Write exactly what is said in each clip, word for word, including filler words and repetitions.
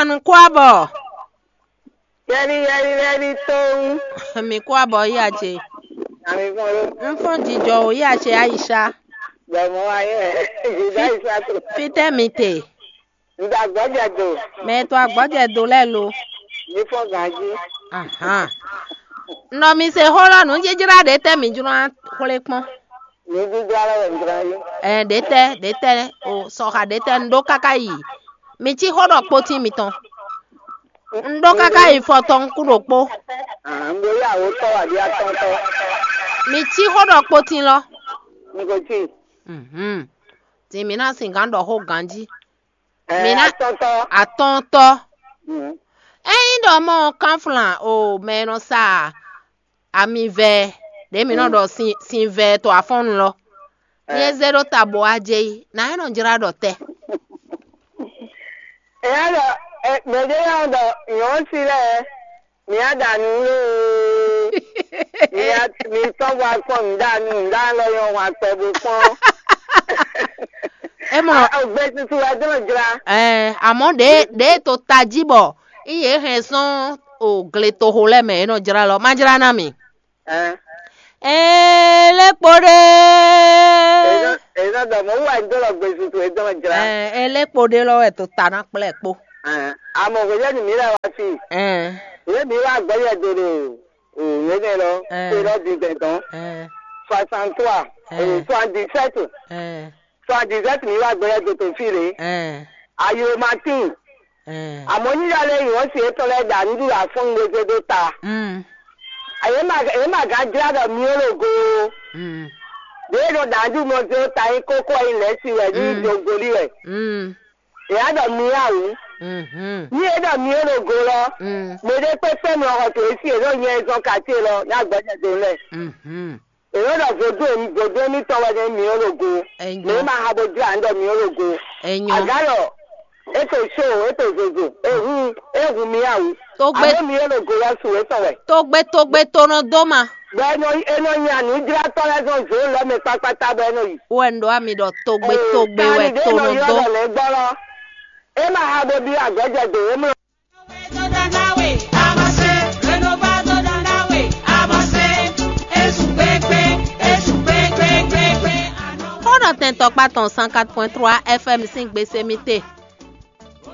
Anu kó abɔ. Yɛli yɛli yɛli tóun. Mi kó abɔ yí ace. Àmì fún ló. N fún jijɔ o yí ace Aisha. Bɛ̀mọ́ ayé ẹ̀. Jìdá ìṣàtò. Fítɛ́ mi te. Ǹda gbọ́jẹ̀ dò. Mɛ e to agbɔjɛ do lɛ́ɛ lo. Ní fún gǎnjí. Ahan. Nɔ mi se xó lɔ nǔ jijlá ɖě tɛ́ mi jló ná xwlé kpɔ́n. Ní dídá lɛ́ wɛ jlá yí. Ɛ ɖě tɛ́ ɖě tɛ́ o sɔxa ɖě tɛ́ un ɖó káká yi. Mi cí xó ɖɔ kpótín mitɔn. Un ɖó káká yi fɔtɔn kú ɖokpó. Àmì yàwó tọ́ àbí atɔ́ntọ́. Mi cí xó ɖɔ kpótín lɔ. N kò tí. Mhm. Tin mi ná sin gǎn ɖɔ xó ganjí. Ɛ Mi ná atɔ́ntɔ. Atɔ́ntɔ. Mhm. Ényí ɖɔ mɔ kánflan o mɛ e nɔ sa ami vɛ ɖě mi nɔ ɖɔ sin sin vɛ to afɔ́nnu lɔ. Ní é zé ɖó ta bo wá jɛ yi, nǎ é nɔ jlá ɖɔ tɛ. Eya ɖɔ ɛ mɛɖé yɔ ɖɔ nyɔ̌si lɛ́ɛ mi á ɖa nǔ loo. Mi á mi tɔ́n bɔ akpɔ́n nǔ ɖa nǔ nǔ ɖa lɔ nyɔ hwan kpɛ bó kpɔ́n. É mɔ A- Ogbe tutu wɛ dó nɔ jlá. Ɛɛ, àmọ́ ɖě ɖě to tají bɔ yí yě hɛn sɔ́n o gletoxo lɛ́ɛ mɛ é nɔ jlá lɔ má jlá ná mi. Ɛɛ. Ee lé kpo ɖé. Èyí náà dɔ mɔ wúwa ń dó lɔ gbèsè tó ètò ọ̀jẹ̀rá. Ee lé kpo ɖé lɔ wɛ tó ta ná kplɛ́ kpó. Àmọ́ kò jẹ́ nìmí rẹ̀ wá sí. Ee Ìwé mi wá gbọ́yẹ̀ dòdò òwe nẹ lọ. Ee. Ṣé lọ́ di gbẹ̀dán? Ee Soixante-trois, Ee. Soixante-dix-sept, Ee. Soixante-dix-sept mi wá gbọ́yẹ̀ dòdò fí rèé. Ee Ayò Martin. Ee Àmọ́ yíyá lé ìwọ́n sì é tọ́lẹ̀ dà nínú àfọ́ngbèsè tó ta. Mm. Èyí mà èyí mà gán jlá ɖɔ mi ó lò go. Mm. Ɖěe nɔ ɖǎjú mɔ dó ta nyí kókó ɛyin lɛ̌ si wɛ ní Mm. dogolí wɛ. Mm. Èyí á ɖɔ mi á wǔ. Mhm. Ní é ɖɔ mi ó lò go lɔ, Mm. mɛ ɖé kpé kpé mlɔ xɔ tó é sí è nɔ nyɛ zɔn kàtí lɔ ní agbɛjɛ dó lɛ. Mhm. È nɔ ɖɔ vodún èmi vodún émítɔn wɛ ní mi ó lò go. Enyo. Mɛ é ma ha bó jlá ń ɖɔ mi ó lò go. Enyo. Àgá lɔ, é to só, é to zozo, é hun é hun mi á wǔ. Tó gbé Àbó mi ó lò go lɔ su é sɔn wɛ. Tó gbé tó gbé tó nɔ dó ma. Bɔ é nɔ é nɔ nya nǔjlátɔ́ lɛ́ɛ zɔn zǒ lɛ́ mɛ kpákpátá bɔ é nɔ yi. Wɛ un ɖɔ ami ɖɔ tógbe tógbe wɛ tó nɔ dó. Lɛ́ gbɔ lɔ. É ma ha bo bí agbɛ́jɛ dǒ é mlɔ. Xó nɔ tɛn tɔkpá tɔn cent quatre point trois F M sín gbese mi te.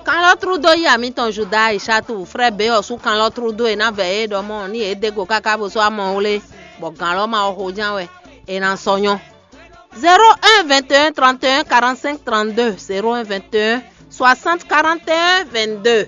Kanlɔ́trúdó yí amǐtɔn Juda Aishatu, frɛ́ Beyɔsu kanlɔ́trúdó e ná vɛ é ɖɔ mɔ ní yě dé go káká bó sú amɔ wlé, bɔ gǎn lɔ́ ma wɔ xoján wɛ è nǎ sɔ́ nyɔ́. Zéro un vingt et un trente et un quarante-cinq trente-deux, zéro un vingt et un soixante quarante et un vingt-deux.